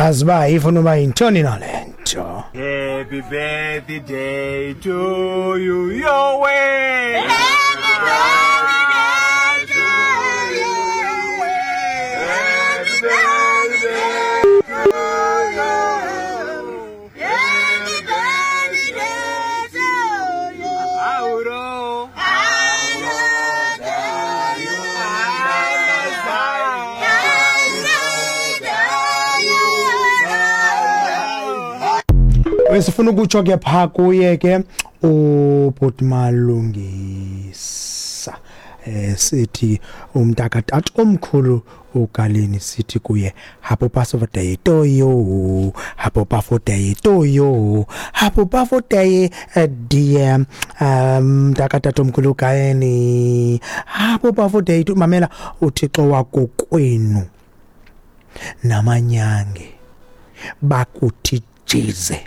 Aziba ifuna uba yintoni na le nto. Happy birthday to you, your way. Happy birthday to you. Happy birthday to you. Happy birthday to you. Auro. Besifuna ukutsho ke pha kuye ke ubhuti Malungisa, sithi umntakatata omkhulu uGaleni, sithi kuye happy birthday to you, happy birthday to you, happy birthday, dear mntakatata omkhulu uGaleni, happy birthday to. Mamela, uThixo wakokwenu namanyange bakuthi jize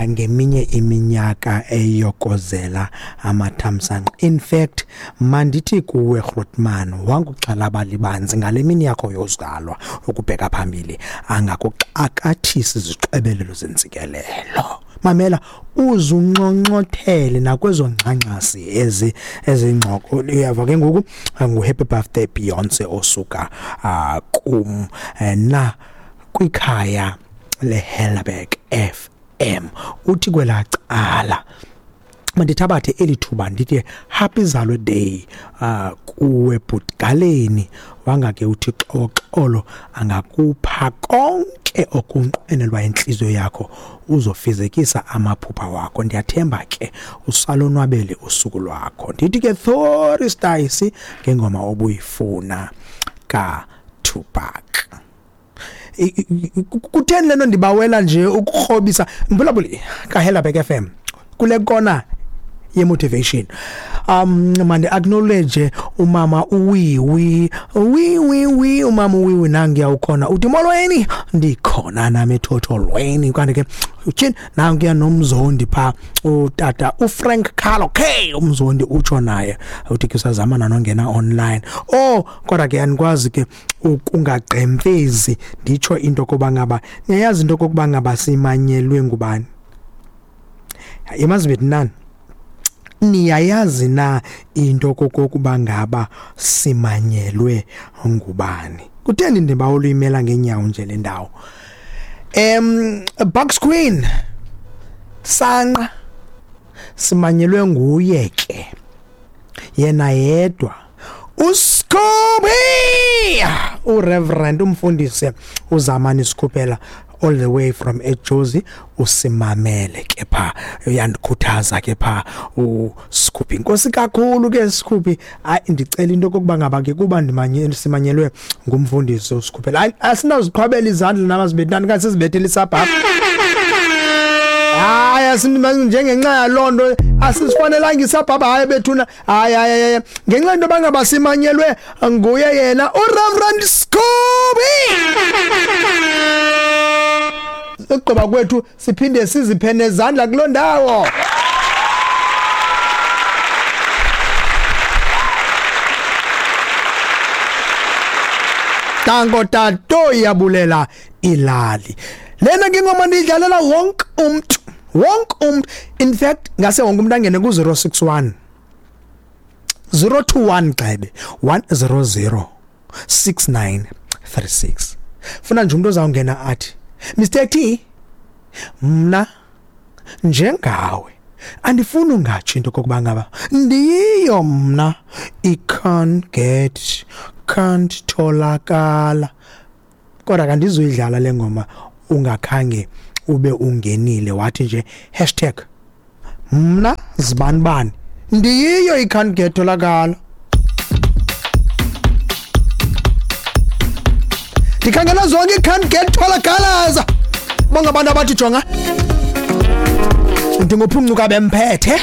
ngeminye iminyaka eyokozela amathamsanqa. In fact, mandithi kuwe Grootman, wanguxhalaba libanzi ngale mini yakho yozalwa ukubheka phambili, angakuxakathisi izixebelelo zentsikelelo. Mamela, uzunxonxothele nakwezo ngxangxasi ezi ezingxoko. Uyava ke ngoku, ngu-happy birthday Beyonce osuka kum na kwikhaya leHelberg FM. Uthi kwelaa cala mandithabathe eli thuba ndithi happy zalwe day kuwe bhutgaleni, wangake uThixo xolo angakupha konke okunqwenelwa intliziyo yakho, uzofezekisa amaphupha wakho. Ndiyathemba ke usalonwabele usuku lwakho. Ndithi ke Thoris Stacey ngengoma obuyifuna kaTupac. Kutheni lento ndibawela nje ukukrobisa mbulabuli kaHelberg FM kule kona ye-motivation? Mandi acknowledge umama uWiwi, wi umama uWiwi nangiya ukhona, uthi molweni, ndikhona nami ethotholweni. Kanti ke utyhini nangiya nomzondi pha utata uFrank Carlo K, umzondi utsho naye uthi ke usazama nanongena online. Oh, kodwa ke andikwazi ke ukungagqemfezi nditsho into koba ngaba niyayazi into kokuba ngaba simanyelwe ngubani. Yemazi nani, niyayazi na into kokuba ngaba simanyelwe ngubani? Kutheni ndibawela uyimela ngeenyawo nje le ndawo? Bucks Queen Sanqa simanyelwe nguye ke yena yedwa, uScooby, uReverend umfundisi uZamani Sikhuphela all the way from eJozi, usimamele ke pha, uyandikhuthaza ke pha uScooby. Inkosi kakhulu ke Scooby. Hayi, ndicela into kokuba ngaba ke kuba simanyelwe ngumfundisi uSkhuphela, hayi asinaziqhwabela izandla namazibethani kanti sizibethele isabha. Hayi, njengenxa yaloo nto asisifanelanga isabhabha. Hayi bethuna, hayi hayi hayi, ngenxa into bangaba simanyelwe nguye yena uReverend Scooby. Ukugqiba kwethu siphinde siziphe nezandla kuloo ndawo. Tango tato iyabulela ilali. Lena ke ingoma ndiyidlalela wonke umntu, wonke umntu. In fact, ngase wonke umntu angene ku-061 021 gxebe 100 6936. Funa nje umuntu ozawungena athi Mr T, mna njengawe andifuni ungatsho into kokuba ngaba ndiyiyo mna i can't get, can't tholakala. Kodwa kandizoyidlala le ngoma ungakhange ube ungenile wathi nje hashtag mna zibanibani ndiyiyo i can't get tholakala. Ndikhangela zonke i can't get tholakalaza. Bonke abantu abathi jonga ndingophuncuka bemphethe,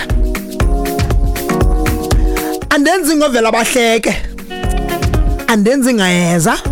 andenzi ngovela bahleke, andenzi ngayeza.